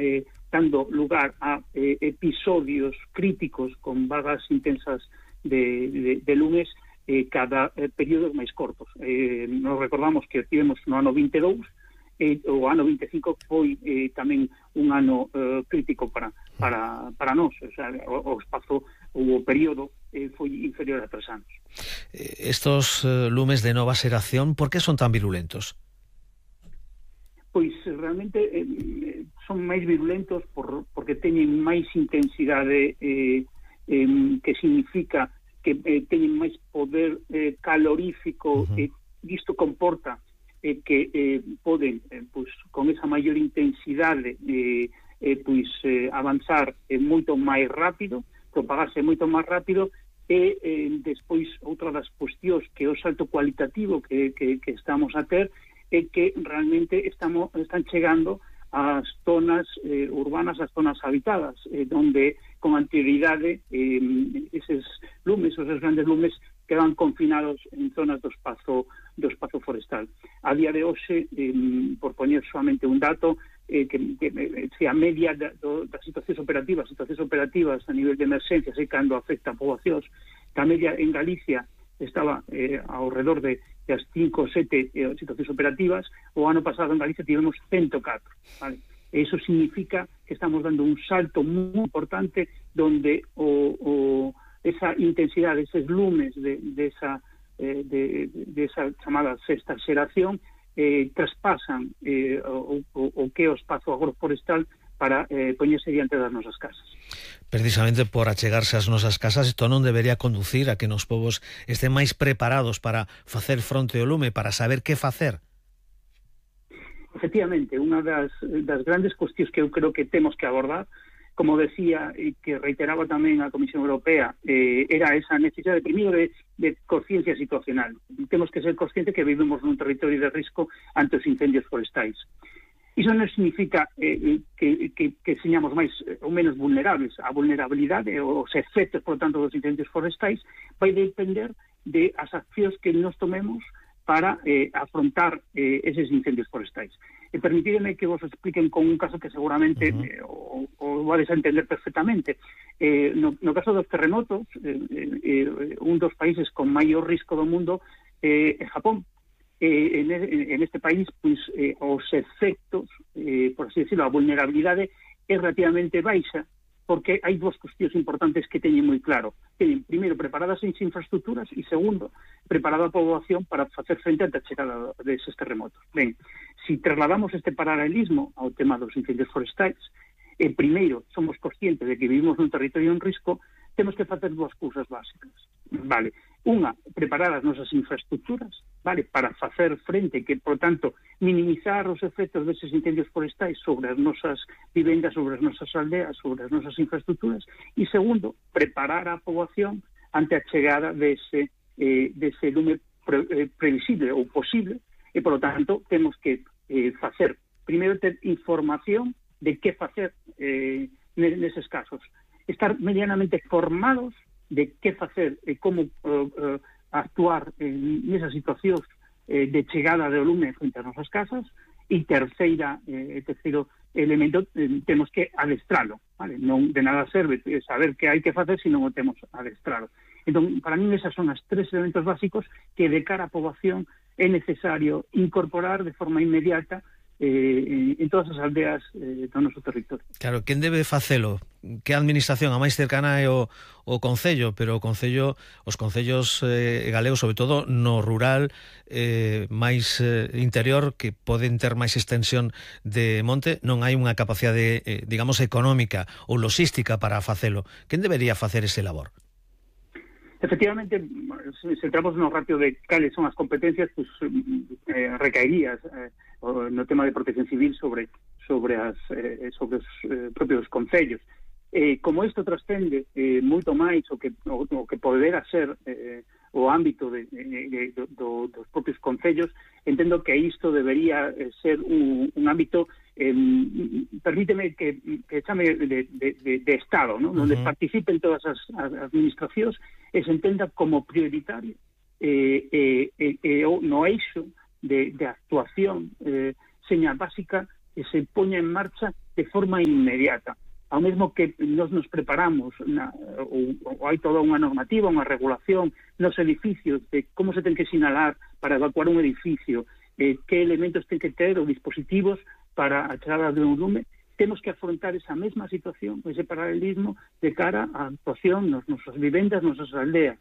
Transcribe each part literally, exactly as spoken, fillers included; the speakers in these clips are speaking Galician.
eh, dando lugar a eh, episodios críticos con vagas intensas de, de, de lumes eh, cada eh, períodos máis cortos. Eh, nos recordamos que tivemos no ano vinte e dous, eh, o ano vinte e cinco foi eh, tamén un ano eh, crítico para para para nós, o sea, o, o espazo, o período eh, foi inferior a tres anos. Estos eh, lumes de nova xeración, por que son tan virulentos? Pois realmente eh, son máis virulentos por, porque teñen máis intensidade, eh, eh, que significa que eh, teñen máis poder eh, calorífico, uh-huh. e isto comporta eh, que eh, poden, eh, pois, con esa maior intensidade, eh, eh, pois eh, avanzar eh, moito máis rápido, propagarse moito máis rápido, e eh, despois outra das cuestións que é o salto cualitativo que, que, que estamos a ter é que realmente estamos están chegando ás zonas eh, urbanas, ás zonas habitadas, eh, donde con anterioridade eh, eses lumes, esos grandes lumes quedan confinados en zonas do espazo do espazo forestal. A día de hoxe, eh, por poñer solamente un dato, eh, que, que se a media da, do, das situacións operativas, situacións operativas a nivel de emerxencias e cando afecta a poboacións, a media en Galicia estaba eh, ao redor de as cinco ou sete eh, situacións operativas. O ano pasado en Galicia tivemos ciento catro, vale? Eso significa que estamos dando un salto moi importante donde o, o, esa intensidade, eses lumes de, de, esa, eh, de, de esa chamada sexta xeración eh, traspasan eh, o, o, o que é o espazo agroforestal para eh, poñerse diante das nosas casas. Precisamente por achegarse ás nosas casas, isto non debería conducir a que nos povos estén máis preparados para facer fronte ao lume, para saber que facer? Efectivamente, unha das, das grandes cuestións que eu creo que temos que abordar, como decía e que reiteraba tamén a Comisión Europea, eh, era esa necesidade, primeiro, de, de conciencia situacional. Temos que ser conscientes que vivimos nun territorio de risco ante os incendios forestais. Iso non significa eh, que, que, que señamos máis ou menos vulnerables. A vulnerabilidade, os efectos, por tanto, dos incendios forestais vai depender de as accións que nos tomemos para eh, afrontar eh, eses incendios forestais. E permitídeme que vos expliquen con un caso que seguramente uh-huh. eh, o, o vais a entender perfectamente. Eh, no, no caso dos terremotos, eh, eh, un dos países con maior risco do mundo eh, é Japón. Eh, en, en este país, pois, eh, os efectos, eh, por así decirlo, a vulnerabilidade é relativamente baixa, porque hai dúas cuestións importantes que teñen moi claro. Teñen, primeiro, preparadas as infraestructuras e, segundo, preparada a poboación para facer frente ante a chegada deses terremotos. Ben, si trasladamos este paralelismo ao tema dos incendios forestais, eh, primeiro, somos conscientes de que vivimos nun territorio en risco, temos que facer dúas cousas básicas. Vale, unha, preparar as nosas infraestructuras, vale, para facer frente, que, por tanto, minimizar os efectos deses incendios forestais sobre as nosas vivendas, sobre as nosas aldeas, sobre as nosas infraestructuras, e segundo, preparar a poboación ante a chegada dese, eh, dese lume pre, eh, previsible ou posible, e, por lo tanto, temos que eh, facer, primeiro, ter información de que facer eh, neses casos, estar medianamente formados de que facer e como uh, uh, actuar en esas situacións eh, de chegada de lume frente ás nosas casas. E terceira, eh, terceiro elemento, eh, temos que adestralo, vale? Non de nada serve saber que hai que facer se non o temos adestralo. Entón, para mí esas son as tres elementos básicos que de cara á poboación é necesario incorporar de forma inmediata eh, en todas as aldeas eh, do noso territorio. Claro, quen debe facelo? Que a administración a máis cercana é o, o Concello, pero o Concello, os concellos eh, galegos, sobre todo no rural eh, máis eh, interior, que poden ter máis extensión de monte, non hai unha capacidade, eh, digamos, económica ou logística para facelo. Quen debería facer ese labor? Efectivamente, se entramos no ratio de cales son as competencias, pues, eh, recaería eh, no tema de protección civil sobre sobre as eh, sobre os eh, propios concellos. Eh, como isto trascende eh, moito máis o que o, o que podera ser eh, o ámbito de, de, de, do, dos propios concellos, entendo que isto debería ser un, un ámbito, eh, permíteme que, que chame de, de, de, de Estado, ¿no? Uh-huh. Donde participen todas as, as administracións e se entenda como prioritario eh, eh, eh, eh, no eixo de, de actuación eh, seña básica que se poña en marcha de forma inmediata. Ao mesmo que nos nos preparamos, na, ou, ou hai toda unha normativa, unha regulación nos edificios de como se ten que sinalar para evacuar un edificio, eh, que elementos ten que ter ou dispositivos para a chegada de un lume, temos que afrontar esa mesma situación, ese paralelismo de cara á actuación nos nosas vivendas, nos nosas aldeas.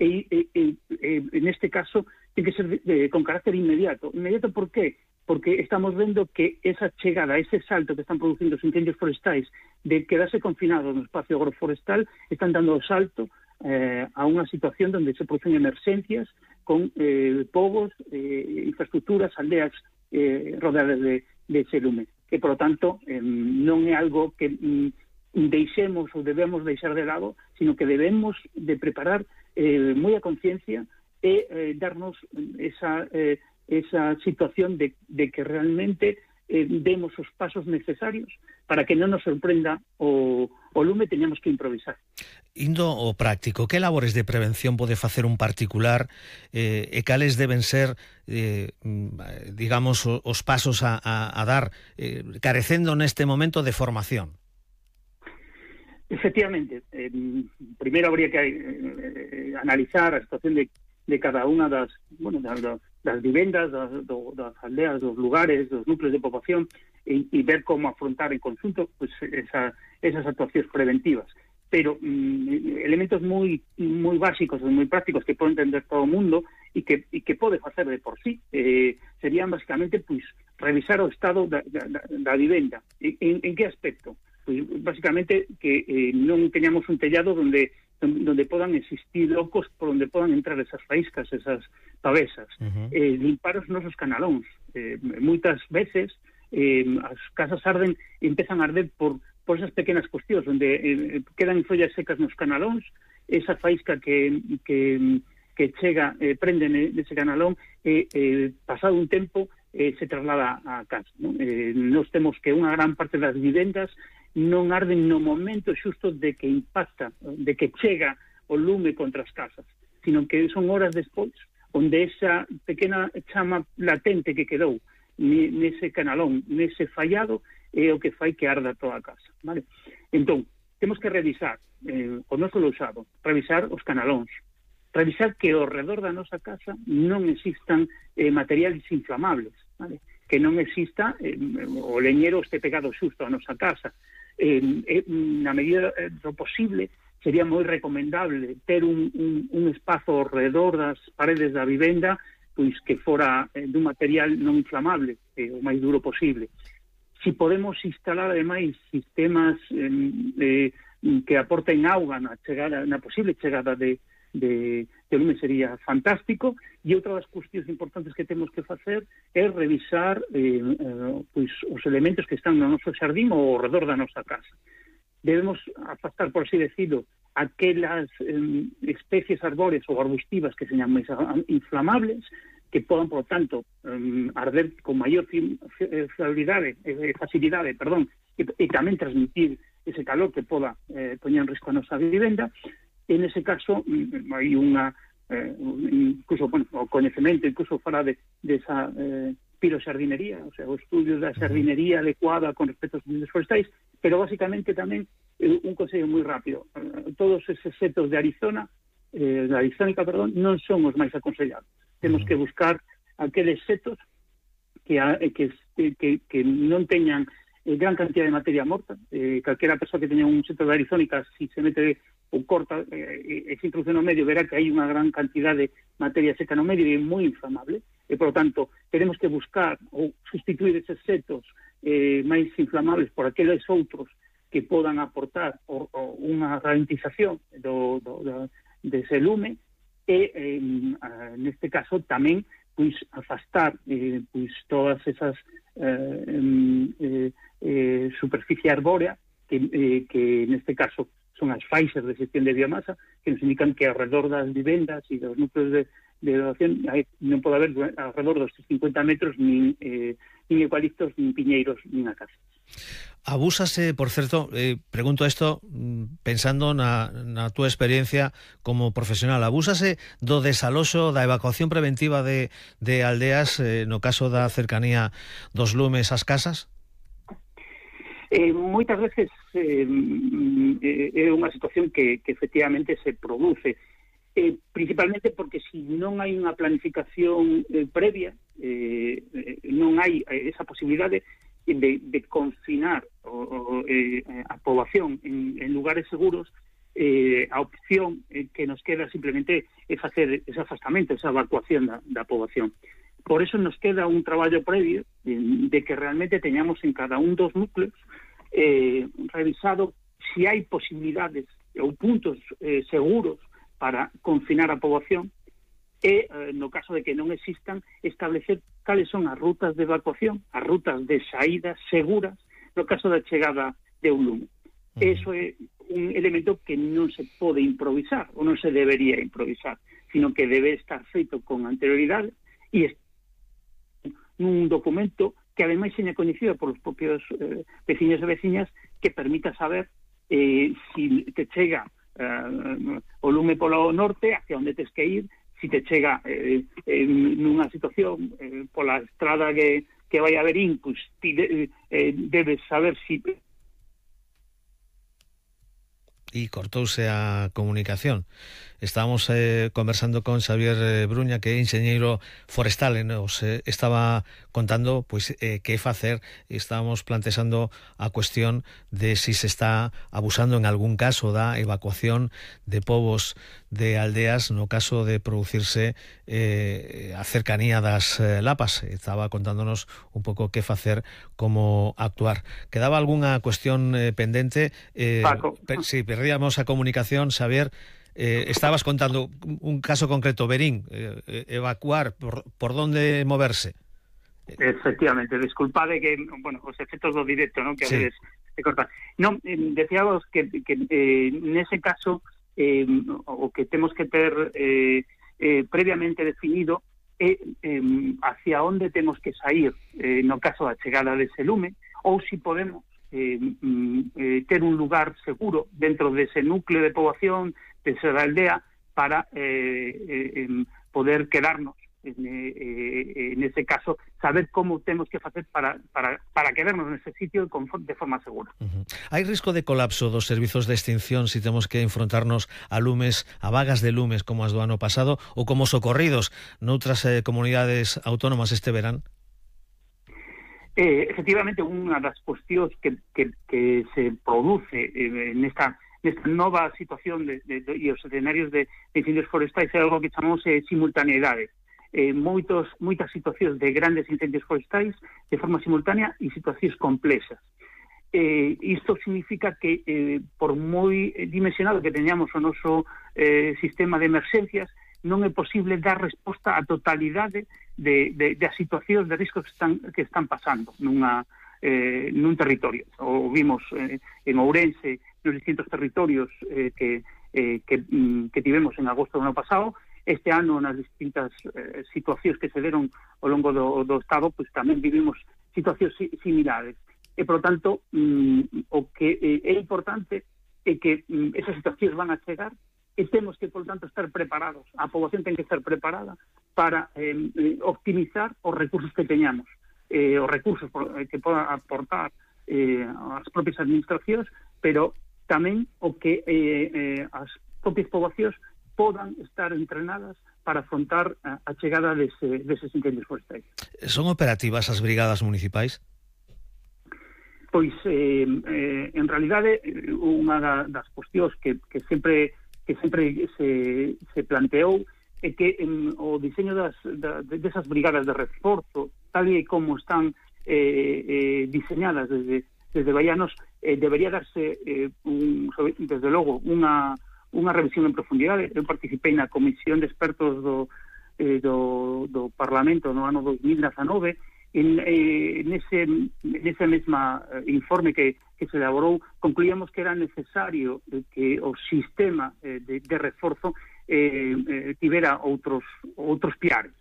E, e, e, e en este caso ten que ser de, de, con carácter inmediato. Inmediato por qué? Porque estamos vendo que esa chegada, ese salto que están producindo os incendios forestais de quedarse confinados no espacio agroforestal, están dando o salto eh, a unha situación onde se producen emerxencias con eh, povos, eh, infraestructuras, aldeas eh, rodeadas de, de ese lume. Que, por lo tanto, eh, non é algo que mm, deixemos ou debemos deixar de lado, sino que debemos de preparar eh, moi a conciencia e eh, darnos esa... Eh, esa situación de, de que realmente eh, demos os pasos necesarios para que non nos sorprenda o, o lume, teñamos que improvisar. Indo ao práctico, que labores de prevención pode facer un particular eh, e cales deben ser, eh, digamos, os pasos a, a, a dar, eh, carecendo neste momento de formación? Efectivamente, eh, primeiro habría que eh, analizar a situación de, de cada unha das, bueno, das, das vivendas, das, das aldeas, dos lugares, dos núcleos de poboación e, e ver como afrontar en conjunto pues, esa, esas actuacións preventivas. Pero mm, elementos moi moi básicos e moi prácticos que pode entender todo o mundo e que, e que pode facer de por sí eh, serían basicamente pues, revisar o estado da, da, da vivenda. En, en que aspecto? Pues, basicamente que eh, non teñamos un tellado donde donde podan existir locos por onde podan entrar esas faíscas, esas pavesas. Uh-huh. eh, limpar os nosos canalóns. Eh, moitas veces eh, as casas arden e empezan a arder por, por esas pequenas cuestións, onde eh, quedan follas secas nos canalóns, esa faísca que, que, que chega, eh, prende nese canalón, e eh, eh, pasado un tempo eh, se traslada a casa. ¿No? Eh, nos temos que unha gran parte das vivendas non arden no momento xusto de que impacta, de que chega o lume contra as casas, sino que son horas despois, onde esa pequena chama latente que quedou nese canalón, nese fallado, é o que fai que arda toda a casa. Vale? Entón, temos que revisar eh, o noso lousado, revisar os canalóns, revisar que ao redor da nosa casa non existan eh, materiales inflamables, vale? Que non exista eh, o leñero este pegado xusto a nosa casa. Eh, eh, na medida do posible sería moi recomendable ter un, un, un espazo ao redor das paredes da vivenda pois que fora eh, dun material non inflamable, eh, o máis duro posible. Si podemos instalar ademais sistemas eh, eh, que aporten auga na chegada, na posible chegada de de, de lume sería fantástico. E outra das cuestións importantes que temos que facer é revisar eh, eh, pois, os elementos que están no noso xardín ou ao redor da nosa casa. Debemos afastar, por así decirlo, aquelas eh, especies arbóreas ou arbustivas que señan máis inflamables, que podan, por tanto, eh, arder con maior facilidade, eh, facilidade perdón, e, e tamén transmitir ese calor que poda eh, poñer en risco a nosa vivenda. En ese caso, hai unha, eh, incluso, bueno, o coñecemento, incluso fala de, de esa eh, piroxardinería, o sea, o estudio da xardinería adecuada con respecto aos incendios forestais, pero basicamente tamén eh, un consello moi rápido. Eh, todos eses setos de Arizona, eh, da Arizónica, perdón, non son os máis aconsellados. Temos que buscar aqueles setos que, que, que, que non teñan eh, gran cantidad de materia morta. Eh, calquera persoa que teña un seto de Arizónica, si se mete ou corta e eh, se introduce no medio, verá que hai unha gran cantidad de materia seca no medio e é moi inflamable, e, por lo tanto, tenemos que buscar ou sustituir eses setos eh, máis inflamables por aqueles outros que podan aportar o, o, unha ralentización do, do, do, dese lume e, eh, neste caso, tamén pois afastar eh, pois todas esas eh, eh, eh, superficie arbórea que, eh, que neste caso son as faixas de xestión de biomasa, que nos indican que alrededor das vivendas e dos núcleos de, de elevación non pode haber alrededor dos cincuenta metros nin, eh, nin eucaliptos, nin piñeiros, nin a casa. Abúsase, por certo, eh, pregunto isto pensando na, na túa experiencia como profesional, abúsase do desaloxo, da evacuación preventiva de, de aldeas eh, no caso da cercanía dos lumes ás casas? Eh, moitas veces eh, é unha situación que, que efectivamente se produce, eh, principalmente porque se si non hai unha planificación eh, previa, eh, non hai esa posibilidade de, de confinar o, o, eh, a poboación en, en lugares seguros. Eh, a opción eh, que nos queda simplemente é facer ese afastamento, esa evacuación da, da poboación. Por eso nos queda un traballo previo de, de que realmente teñamos en cada un dos núcleos eh, revisado si hai posibilidades ou puntos eh, seguros para confinar a poboación e, eh, no caso de que non existan, establecer cales son as rutas de evacuación, as rutas de saída seguras no caso da chegada de un lume. Uh-huh. Eso é un elemento que non se pode improvisar, ou non se debería improvisar, sino que debe estar feito con anterioridade e un documento que ademais seña coñecido por os propios eh, veciños e veciñas, que permita saber eh, si te chega eh, o lume polo norte, hacia onde tes que ir, si te chega eh, eh, nunha situación eh, pola estrada que, que vai a Verín, pues, ti de, eh, debes saber si... E cortouse a comunicación. Estábamos eh, conversando con Xavier eh, Bruña, que é enxeñeiro forestal, e nos eh, estaba contando pois eh, que facer. Estábamos plantexando a cuestión de si se está abusando en algún caso da evacuación de povos de aldeas no caso de producirse eh, a cercanía das eh, lapas. Estaba contándonos un pouco que facer, como actuar. Quedaba algunha cuestión eh, pendente? Eh, Paco. Per, sí, perdíamos a comunicación, Xavier. Eh, estabas contando un caso concreto, Verín, eh, evacuar, por, por dónde moverse. Efectivamente, disculpade que, bueno, os efectos do directo, ¿no? Que a veces sí. se cortan. Non, eh, decíamos que, que eh, nese caso eh, o que temos que ter eh, eh, previamente definido é eh, hacia onde temos que sair eh, no caso da chegada dese lume, ou si podemos eh, eh, ter un lugar seguro dentro dese núcleo de poboación, desa aldea, para eh, eh, poder quedarnos en, eh, en ese caso, saber como temos que facer para, para, para quedarnos nese sitio de forma segura. Uh-huh. Hai risco de colapso dos servizos de extinción se si temos que enfrontarnos a lumes, a vagas de lumes como as do ano pasado, ou como socorridos noutras eh, comunidades autónomas este verán? Eh, efectivamente, unha das cuestións que, que, que se produce eh, nesta nesta nova situación de, de, de, e os escenarios de, de incendios forestais é algo que chamamos eh, simultaneidade. Eh, moitos, moitas situacións de grandes incendios forestais de forma simultánea e situacións complexas. Eh, isto significa que eh, por moi dimensionado que teñamos o noso eh, sistema de emerxencias, non é posible dar resposta á totalidade de, de, de as situacións de risco que están, que están pasando nunha, eh, nun territorio. O vimos eh, en Ourense, nos distintos territorios eh, que, eh, que, mm, que tivemos en agosto do ano pasado. Este ano, nas distintas eh, situacións que se deron ao longo do, do Estado, pues, tamén vivimos situacións si, similares. E, por tanto, mm, o que eh, é importante é que mm, esas situacións van a chegar e temos que, por tanto, estar preparados. A poboación ten que estar preparada para eh, optimizar os recursos que teñamos, eh, os recursos que podan aportar eh, as propias administracións, pero tamén o que eh, eh, as propias poboacións podan estar entrenadas para afrontar a, a chegada dese, deses incendios forestais. Son operativas as brigadas municipais? Pois, eh, eh, en realidade, unha da, das cuestións que, que sempre que sempre se, se planteou é que en, o diseño das, da, desas brigadas de reforzo, tal e como están eh, eh, diseñadas desde desde Baianos, eh, debería darse eh, un, desde logo unha, unha revisión en profundidade. Eu participei na comisión de expertos do, eh, do, do Parlamento no ano dos mil dezanove. En, eh, nese, nese mesma eh, informe que, que se elaborou, concluíamos que era necesario eh, que o sistema eh, de, de reforzo eh, eh, tivera outros, outros piares.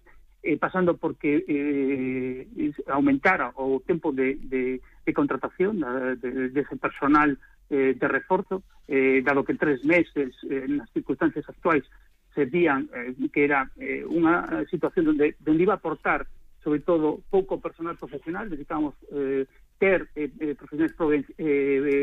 Eh, pasando porque eh, aumentara o tempo de, de, de contratación de, de, de ese personal eh, de reforzo, eh, dado que tres meses eh, nas circunstancias actuais se vían eh, que era eh, unha situación onde, onde iba a aportar sobre todo pouco personal profesional. Necesitábamos eh, ter eh, profesionais eh,